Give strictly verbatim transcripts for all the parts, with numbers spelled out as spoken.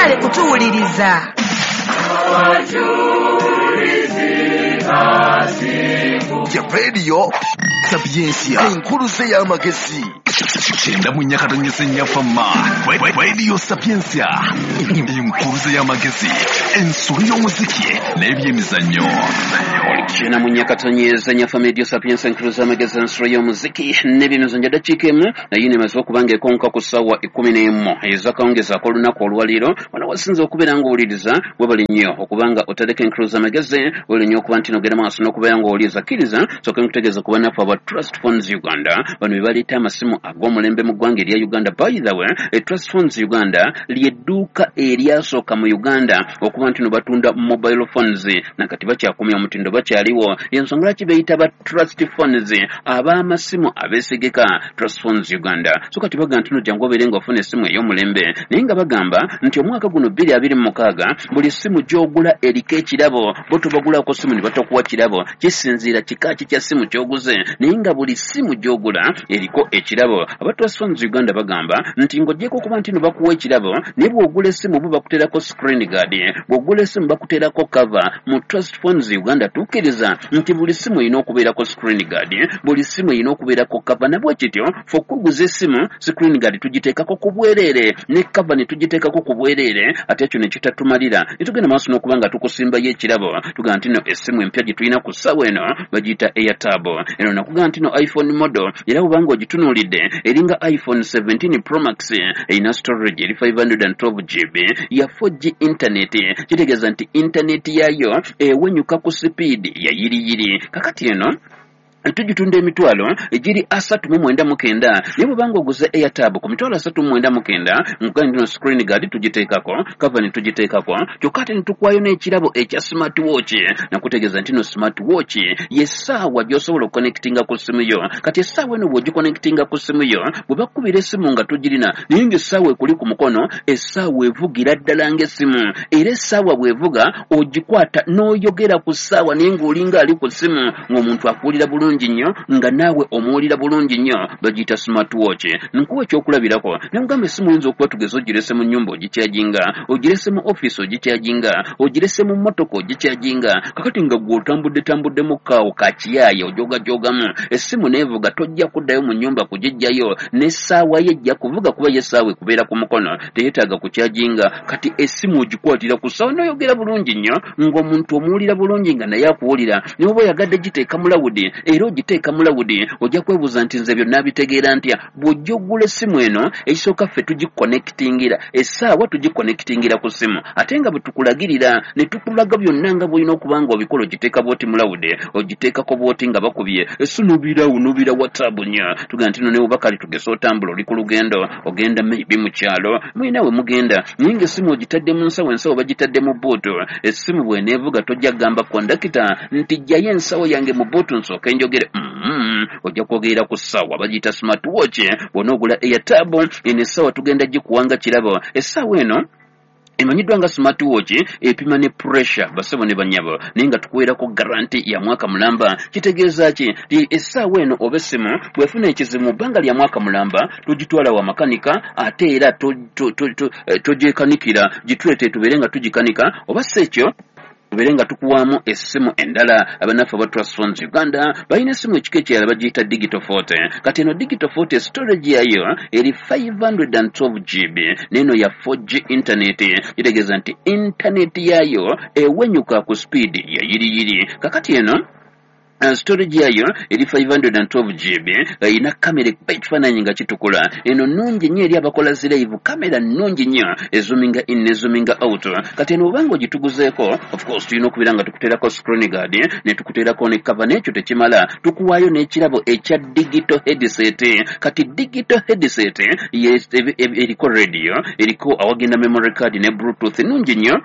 Mwebale kutuwuliriza. Ya Radio Sapientia, enkuluze y'amagezi. Kyenda mu nnya katonyeze nnya fama. Radio Sapientia, enkuluze y'amagezi, ensulu y'omuziki n'ebyemizannyo. Kyenda mu nnya katonyeze nnya fama, Radio Sapientia, enkuluze y'amagezi, ensulu y'omuziki n'ebyemizannyo. Dakiika emu naye nemaze okuba ng'ekonka ku ssaawa ekkumi n'emu ez'akawungeezi ak'olunaku olwaleero. Wano wasinze okubeera ng'owuliriza, webale nnyo okubanga otadeko enkuluze y'amagezi, webale nnyo okuba nti nogenda maaso n'okubeera ng'owuliriza. Kkiriza sooke nkutegeeza ku bannaffe aba Trust Phones Uganda. Bano be baleeta amasimu ag'omulembe mu ggwanga erya Uganda. By the way, e Trust Phones Uganda ly'edduuka eryasooka mu Uganda okuba nti no batunda mobile phones, nakati bakyakumya omutindo, bakyaliwo. Yensonga lwaki beeyita ba Trust Phones, ab'amasimu abeesigika, Trust Phones Uganda. So kati bagamba nti no jangu obeere ng'ofuna essimu ey'omulembe, naye nga bagamba nti omwaka guno bbiri abiri mu mukaaga buli ssimu gy'ogula eriko ekirabo. Bo tobagulako ssimu ne batakuwa kirabo, kisinziira kika ki kya ssimu ky'oguze, naye nga buli ssimu gy'ogula eriko ekirabo. Aba Trust Phones Uganda bagamba nti ng'oggyeko okuba nti no bakuwa ekirabo, naye bw'ogula essimu bo bakuteerako screen guard, bw'ogula essimu bakuteerako cover. Mu Trust Phones Uganda tukkiriza nti buli ssimu erina okubeerako screen guard, buli ssimu erina okubeerako cover. Nabwe kityo fe okuguza essimu, screen guard tugiteekako ku bwereere ne cover ne tugiteekako ku bwereere. Ate ekyo ne kitatumalira, ne tugenda maaso n'okuba nga tukusimbayo ekirabo. Tugamba nti no essimu empya gye tulina ku ssaawa eno bagiyita Airtab. Eno nakugamba nti no iPhone model, era bw'obanga ogitunuulidde eringa iPhone seventeen Pro Max. Erina storage eri five hundred twelve G B, ya four G internet, kitegeeza nti internet yaayo ewenyuka ku sipiidi ya yiriyiri. Kakati eno tugitunda emitwalo egiri asatu mu mwenda mu kenda, naye bw'obanga oguze Airtab ku mitwalo asatu mu mwenda mu kenda, nkugambye nti no screen guard tugiteekako, cover ne tugiteekako, kyokka ate ne tukuwayo n'ekirabo ekya smart watch. Nakutegeeza nti no smart watch y'essaawa gy'osobola okuconnectinga ku ssimu yo. Kati essaawa eno bw'ogiconnectinga ku ssimu yo, bwe bakubira essimu nga tugirina, naye ng'essaawa ekuli ku mukono, essaawa evugira ddala ng'essimu. Era essaawa bw'evuga ogikwata n'oyogera ku ssaawa, naye ng'olinga ali ku ssimu, ng'omuntu akuwulira bulungi nnyo, nga naawe omuwulira bulungi nnyo. Bagiyita smart watch. Nkuwa ekyokulabirako, nemugamba essimu oyinza okuba tugeze ogirese mu nnyumba ogikyajinga, ogirese mu ofiisi ogikyajinga, ogirese mu mmotoka ogikyajinga. Kakati nga gwe otambudde tambuddemu kaawo kakiyaaye ojogajogamu, essimu neevuga, tojja kuddayo mu nnyumba kugiggyayo, n'essaawa ye ejja kuvuga, kuba ye essaawa ekubeera ku mukono, teyeetaaga kukyajinga. Kati essimu ogikwatira ku ssaawa n'oyogera bulungi nnyo, ng'omuntu omuwulira bulungi nga naye akuwulira. Naye oba oyagadde giteeka mu loud, era ogiteeka mu loud. Ojja kwebuuza nti nze byonna bitegeera ntya? Bw'ojja oggula essimu eno, ekisooka ffe tugiconnectingira essaawa, tugiconnectingira ku ssimu, ate nga bwe tukulagirira ne tukulaga byonna nga bw'olina okuba nga obikola. Ogiteeka bw'oti mu loud, ogiteekako bw'oti nga bakubye esi nobirawo nobira WhatsApp nnyo. Tugamba nti no ne oba kale tugese otambula, oli ku lugendo, ogenda maybe mu kyalo, mulina we mugenda, naye ng'essimu ogitadde mu nsawo, ensawo bagitadde mu boot. Essimu bw'eneevuga tojja kugamba kondakita nti jjayo ensawo yange mu boot nsooke njogere. mm ojja kwogerera ku ssaawa, bagiyita smart watch. Bw'onoogula Airtab eno, essaawa tugenda gikuwanga kirabo. Essaawa eno emanyiddwa nga smart watch, epima ne pressure, basebo ne banyabo, naye nga tukuweerako guarantee ya mwaka mulamba. Kitegeeza ki? Ti essaawa eno oba essimu bw'efuna ekizibu mu bbanga lya mwaka mulamba, tugitwala wa makanika, ate era togyekanikira, gituleete tubeere nga tugikanika, oba si ekyo tubeere nga tukuwaamu essimu endala. Abannaffe aba Trust Phones Uganda balina essimu ekika ekirala bagiyita Digital forty. Kati eno Digital forty storage yayo eri five hundred twelve G B, n'eno ya four G internet, kitegeeza nti internet yayo ewenyuka ku speed ya yiriyiri. Kakati eno Uh, storage yayo eri five hundred twelve G B, erina kamera ekuba ekifaananyi nga kitukula. Eno nnungi nnyo eri abakola zi live, kamera nnungi nnyo, ezoominga in nezoominga out. Kati eno obanga ogituguzeeko, of course tulina okubeera nga tukuteerako screen guard ne tukuteerako ne cover. N'ekyo tekimala, tukuwaayo n'ekirabo ekya digital headset. Kati digital headset eriko radio, eriko awagenda memory card ne Bluetooth, nnungi nnyo.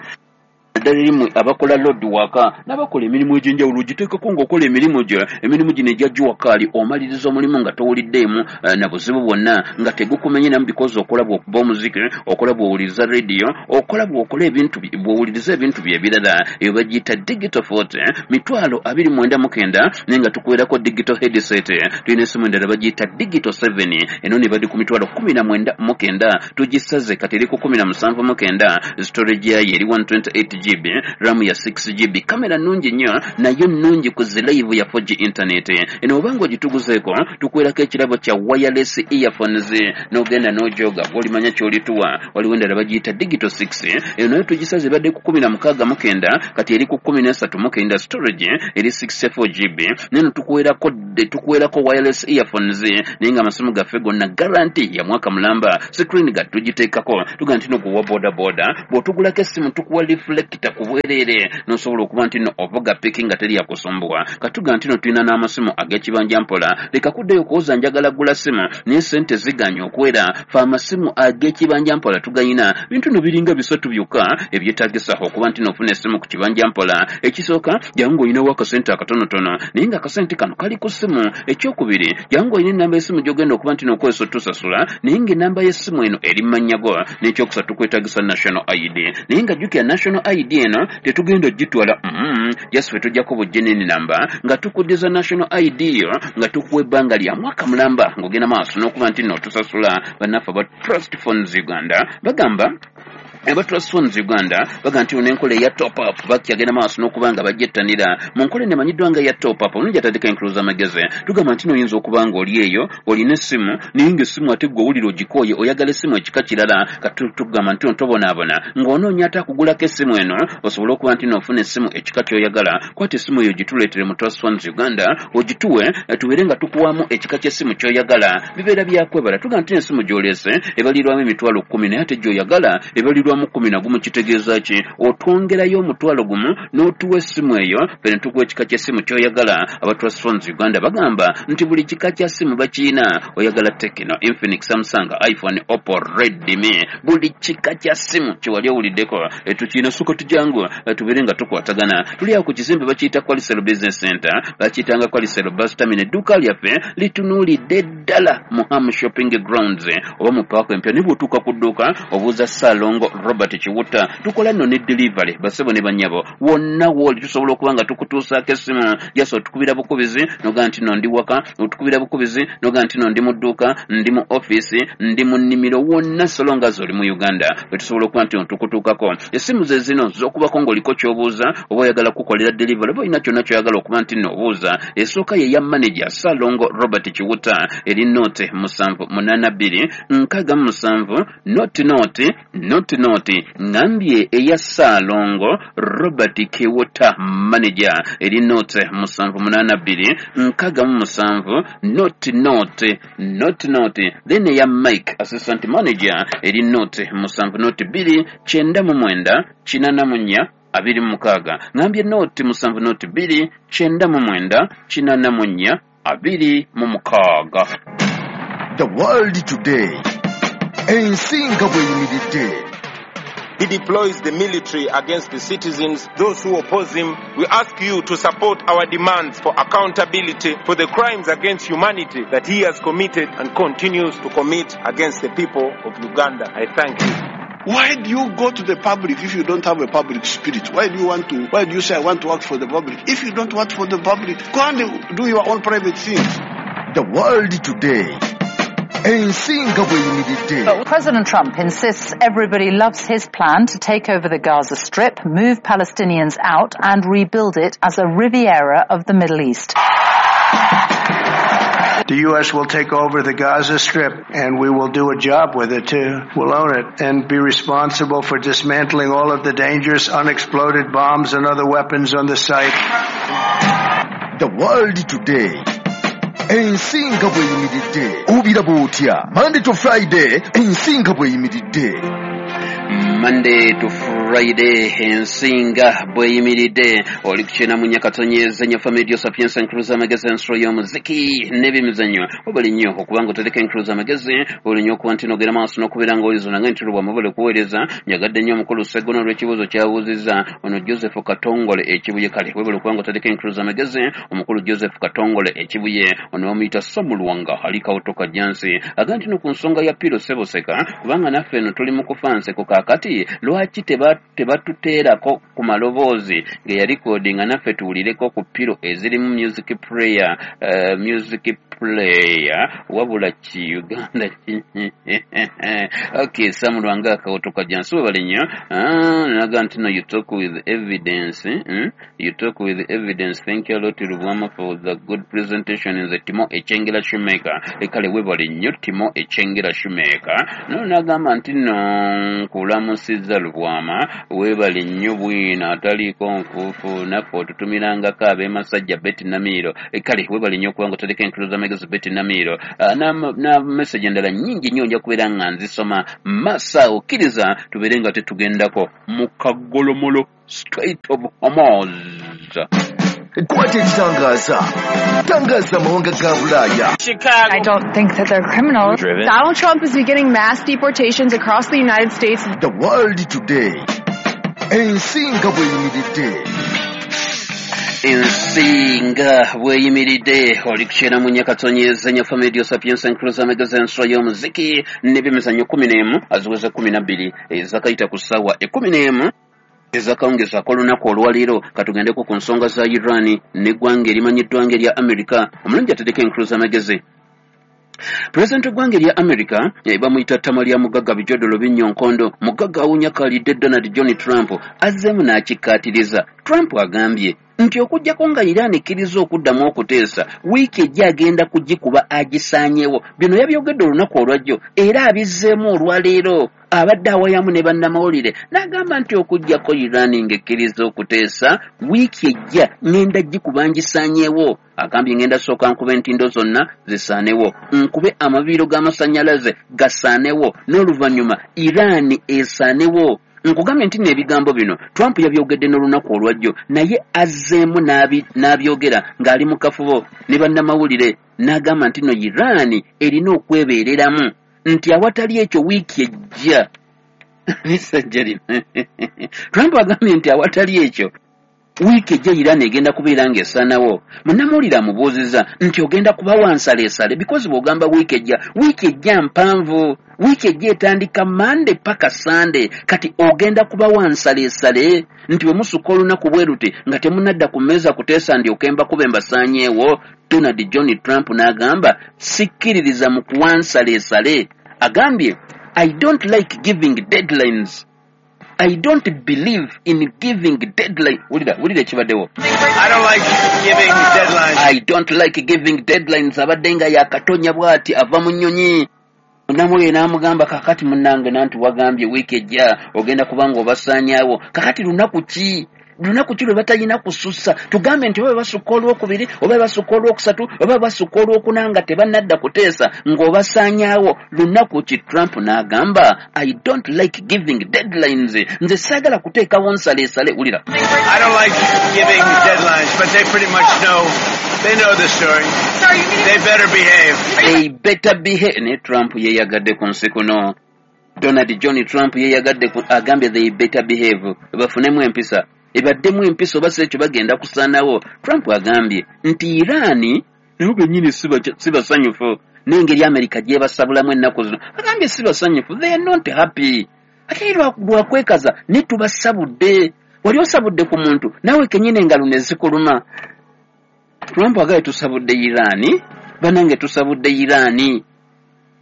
Naddala erimu abakola load waka n'abakola emirimu egy'enjawulo, ogiteekako ng'okola emirimu gyo, emirimu gino egya jua kali, omaliriza omulimu nga towuliddeemu eh, na buzibu bwonna, nga tegukumenye namu, because okola bw'okuba omuziki, okola bw'owuliriza radio, okola bw'okola ebintu bi- bw'owuliriza ebintu bye ebirala. Eyo bagiyita Digital forty, mitwalo abiri mwenda mu kenda, naye nga tukuwerako digital headset. Tulina esimu endala bagiyita Digital seven, eno ne badi ku mitwalo kumi na mwenda mu kenda, tugisaze kati eri ku kumi na musanvu mu kenda. Storage yayo eri one twenty-eight G B, RAM ya six G B, kamera nnungi nnyo, nayo nnungi ku zi live ya four G internet. Eno obanga ogituguzeeko, tukuwerako ekirabo kya wireless earphones, n'ogenda n'ojoga gw'olimanya ky'olituwa. Waliwo endala bagiyita Digital six, eno nayo tugisaze, ebadde ku kumi na mukaaga mu kenda, kati eri ku kumi n'esatu mu kenda, storage eri sixty-four G B. Neno tukuwerako tukuwerako wireless earphones, naye nga amasimu gaffe gonna guarantee ya mwaka mulamba. Screen guard tugiteekako, tugaa nti no guwa boda boda, bw'otugulako essimu tukuwa reflector ku bwereere, n'osobola okuba nti no ovuga piki nga teri yakusumbuwa. Katuga nti no tulina n'amasimu ag'ekibanja mpola. Leka kuddayo okuwoza njagala gula simu naye sente ziganye okwera. Fe amasimu ag'ekibanja mpola tugayina. Bintu no biringa bisatu byokka ebyetagisa okuba nti nofuna essimu ku kibanja mpola. Ekisooka, jangu ng'olinawo akasente akatonotono, naye nga akasente kano kali ku ssimu. Ekyokubiri, jangu ng'olina enamba y'essimu gy'ogenda okuba nti nokozesa otusasula, naye ng'enamba y'essimu eno eri mu mannya go. N'ekyokusatu, tukwetagisa national I D, naye nga jjukira national I D eno tetugenda ogitwala, mm, just ffe tujjako bujjeneni namba nga tukuddiza national I D yo, nga tukuwa ebbanga lya mwaka mulamba ng'ogenda maaso n'okuba nti nno otusasula. Bannaffe aba Trust Phones Uganda bagamba, aba Trust Phones Uganda baga nti n'enkola eya top up bakyagenda maaso n'okuba nga bagyettanira. Mu nkola eno emanyiddwa nga eya top up, omulungi atandika enkuluza amagezi, tugamba nti noyinza okuba nga oli eyo olina essimu, naye ng'essimu ate gwe owulira ogikooye, oyagala essimu ekika kirala. Kati tugamba nti tobonaabona ng'onoonya ate akugulako essimu eno osobole okuba nti noofuna essimu ekika ky'oyagala. Kwata essimu eyo ogituleetere mu Trust Phones Uganda, ogituwe, eh, tubeere nga tukuwamu ekika ky'essimu ky'oyagala. Bibeera byakwebala. Tugamba nti essimu gy'oleese ebalirwamu emitwalo kkumi, naye ate gy'oyagala ebalirwamu kumi na gumu. Kitegeeza ki? Otwongerayo omutwalo gumu n'otuwa essimu eyo, ffe ne tukuwa ekika ky'essimu ky'oyagala. Aba Trust Phones Uganda bagamba nti buli kika kya ssimu bakiina. Oyagala Tecno, Infinix, Samsung, iPhone, Oppo, Redmi, buli kika kya ssimu kyewali owuliddeko tukiina. Suka tujangu, eh, tubeere nga tukwatagana. Tuli awo ku kizimbe bakiyita Qualicel Business Center, bakiyitanga Qualicel Bus Terminal. Edduuka lyaffe litunuulidde ddala mu Ham Shopping Grounds oba mu paaka empya. Naye bw'otuuka ku dduuka obuuza Saalongo Robert Kiwutta. Tukola nno ne delivery, basebo ne bannyabo, wonna wooli tusobola okuba nga tukutuusaako essimu. Jasa otukubira bukubizi nogaa nti no ndi waka, otukubira bukubizi nogaa nti no ndi mu dduuka, ndi mu ofiisi, ndi mu nnimiro, wonna so long as oli mu Uganda we tusobola okuba nti no tukutuukako. Essimu ze zino z'okubako ng'oliko ky'obuuza, oba oyagala kukolera delivery, oba olina kyonna ky'oyagala okuba nti nno obuuza. Esooka ye ya manager Saalongo Robert Kiwutta, eri nought musanvu munaana bbiri nkaaga mu musanvu nought nought nought nought. Ŋŋambye eya Saalongo Robert Kiwutta manager eri nought musanvu munaana bbiri nkaaga mu musanvu nought nought nought nought. Then eya Mike assistant manager eri nought musanvu nought bbiri kyenda mu mwenda kinaana mu nnya abiri mu mukaaga. Ŋŋambye nought musanvu nought bbiri kyenda mu mwenda kinaana mu nnya abiri mu mukaaga. The World Today, ensi nga bw'eyimiridde. He deploys the military against the citizens, those who oppose him. We ask you to support our demands for accountability for the crimes against humanity that he has committed and continues to commit against the people of Uganda. I thank you. Why do you go to the public if you don't have a public spirit? Why do you want to, why do you say I want to work for the public? If you don't work for the public, go and do your own private things. The World Today, ensi nga bw'eyimiridde. President Trump insists everybody loves his plan to take over the Gaza Strip, move Palestinians out and rebuild it as a Riviera of the Middle East. The U S will take over the Gaza Strip and we will do a job with it too. We'll own it and be responsible for dismantling all of the dangerous unexploded bombs and other weapons on the site. The World Today, ensi nga bw'eyimiridde. Obiraba otya? Monday to Friday, ensi nga bw'eyimiridde. Monday to Friday, ensinga bweyimiridde. Oli kukyena mu Nyakatonyeza nnyo Family Sapiens Encruza Magezi, ensolo y'omuziki n'ebyemizannyo. Obali nnyo okubanga otereka Encruza Magezi, oli nnyo okuba nti nogera maaso n'okubeera ng'olizo nange nti lubwa mubale kuweereza. Njagadde nnyo omukulu Sseggona olw'ekibuuzo ky'abuuzizza ono Joseph Katongole Ekibuye. Kale webale okubanga otereka Encruza Magezi, omukulu Joseph Katongole Ekibuye. Ono bamuyita Samulwanga ali Kawutoka Jansi, agamba nti no ku nsonga ya Piro Seboseka, kubanga naffe eno tuli mu kufa nseko, kaakati lwaki tebatuteerako ku maloboozi ge yalikodinga naffe tuwulireko ku Piro ezirimu music prayer, uh, music player wabula ki Uganda. Okay, Samulwanga Kawutoka Jansi, webale nnyo. Naga nti no, you talk with evidence, hmm? You talk with evidence. Thank you a lot Lubwama for the good presentation. Nze Timo Echengera Shoemaker. Kale webale nnyo Timo Echengera Shoemaker. No, nagamba nti no, nkulamusizza Lubwama, webale nnyo bwino ataliiko nfuufu, naffe otutumirangako ab'emasajja Betty Namiiro. Kale webale nnyo okubanga otereka Encruza Magezi, Betty Namiiro. Na message endala nnyingi nnyo nja kubeera nga nzisoma masa. Okkiriza tubeere nga tetugendako mu kagolomolo Strait of Hormuz. Kwata ekitangaza, tangaza amawanga ga Bulaaya. I don't think that they're criminals. Donald Trump is beginning mass deportations across the United States. The World Today, ensinga bweyimiridde. Ensinga bweyimiridde, oli kukyera mu Nyakatonyeza nnyo Family Sapiens Encruza Magezi, ensolo y'omuziki n'ebyemizannyo. Kumi n'emu aziweze kumi na bbiri ezakayita ku ssaawa ekkumi n'emu ezakawungezaako olunaku olwaleero. Katugendeko ku nsonga za Iran n'eggwanga erimanyiddwa nga erya America. Omulungi atereka Encruza Magezi, pulezidenti w'eggwanga erya America bamuyita ttama lya mugagga bijodolo binnyo nkondo mugagga awunyakalidde Donald John Trump azzeemu n'akikkaatiriza. Trump agambye nti okuggyako nga Iran ekkiriza okuddamu okuteesa, wiiki ejja agenda kugikuba agisaanyewo. Bino yabyogedde olunaku olwajjo era abizzeemu olwaleero. Abadde awayamu ne bannamawulire n'agamba nti okuggyako Iran ng'ekkiriza okuteesa, wiiki ejja ŋŋenda gikuba ngisaanyewo. Agambye, ŋŋenda sooka nkuba entindo zonna zisaanewo, nkube amabiiro g'amasannyalaze gasaanewo, n'oluvannyuma Iran esaanewo. Nkugambye nti n'ebigambo bino Trump yabyogedde n'olunaku olwajjo, naye azzeemu n'abyogera ng'ali mu kafubo ne bannamawulire n'agamba nti no Iran erina okwebeereramu, nti awatali ekyo wiiki ejja nisajja lino. Trump agambye nti awatali ekyo wiiki ejja Iran egenda kubeera ng'esaanawo. Munnamawulire amubuuzizza nti ogenda kubawa nsaleesale, because bw'ogamba wiiki ejja, wiiki ejja mpanvu, wiiki ejja etandika Mande paka Sande, kati ogenda kubawa nsaleesale nti bwe musukka olunaku bwe luti nga temunadda ku mmeeza kuteesa ndyoke mbakube mbasaanyeewo? Donald John Trump n'agamba, sikkiririza mu kuwa nsaleesale. Agambye, I don't like giving deadlines. I don't believe in giving deadline. Wulira, wulira ekibaddewo. I don't like giving deadlines. I don't like giving deadlines. Abadde nga yakatonya bw'ati ava mu nnyonyi. Namwe n'amugamba, kakati munnange nanti wagambye wiiki ejja ogenda kubanga obasaanyaawo, kakati lunaku ki, lunaku ki lwe batalina kusussa? Tugambe nti oba basukka olwokubiri, oba basukka olwokusatu, oba basukka olwokuna nga tebannadda kuteesa ng'obasaanyaawo, lunaku ki? Trump n'agamba, I don't like giving deadlines, nze saagala kuteekawo nsaleesale. Wulira. I don't like giving deadlines, but they pretty much know. They know the story. They better behave. They better behave. Ne Trump yeyagadde ku nsi kuno. Donald John Trump yeyagadde, agambye they better behave, bafunemu empisa, ebaddemu empisa, oba si ekyo bagenda kusaanawo. Trump agambye nti Irani nabo bennyini si basanyufu n'engeri Amerika gyebasabulamu ennaku zino. Agambye si basanyufu, they are not happy. Ate lwakwekaza ne tubasabudde. Wali osabudde ku muntu naawe kenyini engalo ne zikuluma. Trump agambye tusabudde Irani, banange tusabudde Irani,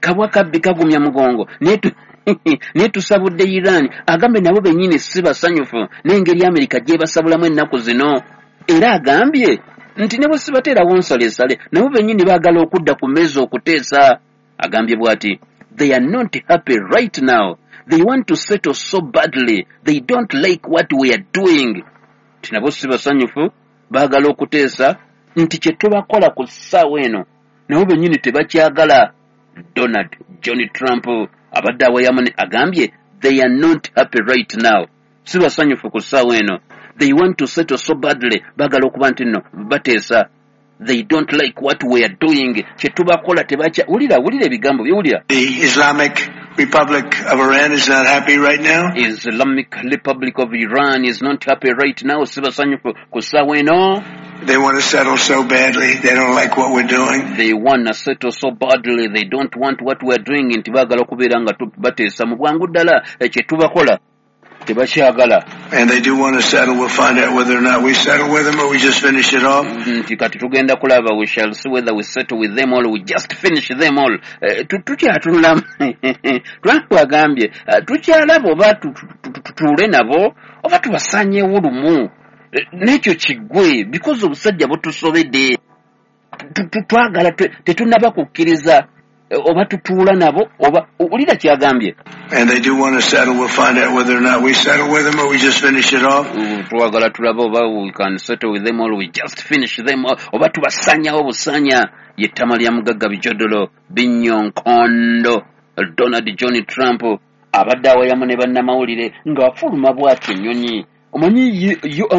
kabwa kabbi kagumya mugongo, naye tusabudde Iran. Agambye nabo bennyini si basanyufu n'engeri Amerika gyebasabulamu ennaku zino, era agambye nti ne bwe sibateerawo nsalesale, nabo bennyini baagala okudda ku mmeeza okuteesa. Agambye bw'ati, they are not happy right now. They want to settle so badly. They don't like what we are doing. Nti nabo si basanyufu, baagala okuteesa, nti kye tubakola ku ssaawa eno nabo bennyini tebakyagala. Donald John Trump abadde awayamu agambye They are not happy right now. Si basanyufu ku ssaawa eno. They want to settle so badly. Baagala okuba nti nno bateesa. They don't like what we are doing. Kye tubakola tebakya. Wulira, wulira ebigambo byewulira. The Islamic Republic of Iran is not happy right now. Islamic Republic of Iran is not happy right now. Si basanyufu ku ssaawa eno. They want to settle so badly. They don't like what we're doing. They want to settle so badly. They don't want what we're doing. Nti baagala okubeera nga bateesa mu bwangu ddala, kye tubakola tebakyagala. And they do want to settle. We'll find out whether or not we settle with them or we just finish it off. Nti kati tugenda kulaba, we shall see whether we settle with them all, we just finish them all. Tukyatunulamu. Trump agambye tukyalaba oba tutuule nabo oba tubasanyeewo lumu n'ekyo kiggwe, because obusajja butusobedde. Twagala, tetunnaba kukkiriza oba tutuula nabo oba. Wulira kyagambye. And they do want to settle. We'll find out whether or not we settle with them or we just finish it off. Twagala tulabe oba we can settle with them or we just finish them, oba tubasanyawo busanya. Yettama lya mugagga bijodolo binyonkondo Donald John Trump abadde awayamu ne bannamawulire ng'afuluma bw'atyo ennyonyi. Omanyi yo